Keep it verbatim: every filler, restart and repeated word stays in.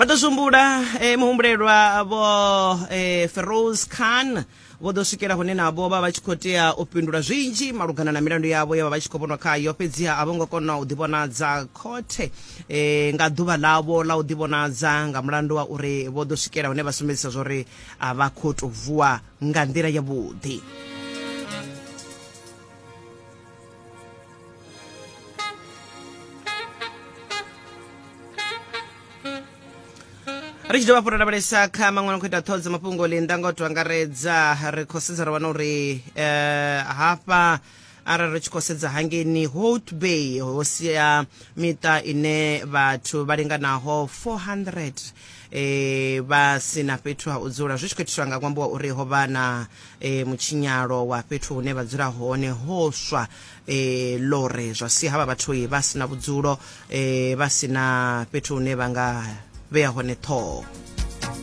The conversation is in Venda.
Vha ḓo zwi eh, muhumbulelwa vho eh, Feroz Khan vho ḓo swikela hune navho vha vha tshi khou tea u fhindula zwinzhi malugana na milandu yavho ye vha vha tshi khou vhonwa khayo, fhedziha a vho ngo kona u ḓivhonadza khothe eh, nga ḓuvha ḽavho ḽa u ḓivhonadza nga mulandu wa uri vho ḓo swikela hune vha sumbedzisa zwori a vha khou tou vuwa nga nḓila yavhuḓi. Ri tshi dovha hafhu ra lavhelesa kha maṅwe no khou ita ṱhoho dza mafhungo linda nga u to angaredza, ri khou sedza ra wana uri eh, hafha arali ri tshi khou sedza hangeini Hout Bay ho sia miṱa ine vhathu vha linganaho four hundred eh, vha sina fhethu ha u dzula, zwi tshi khou itiswa nga ṅwambo wa uri ho vha na eh, mutshinyalo wa fhethu hune vha dzula hone ho swa eh, lore, zwa sia havha vhathu vha sina vhudzulo, eh, vha sina fhethu hune vha nga vhea hone ṱhoho.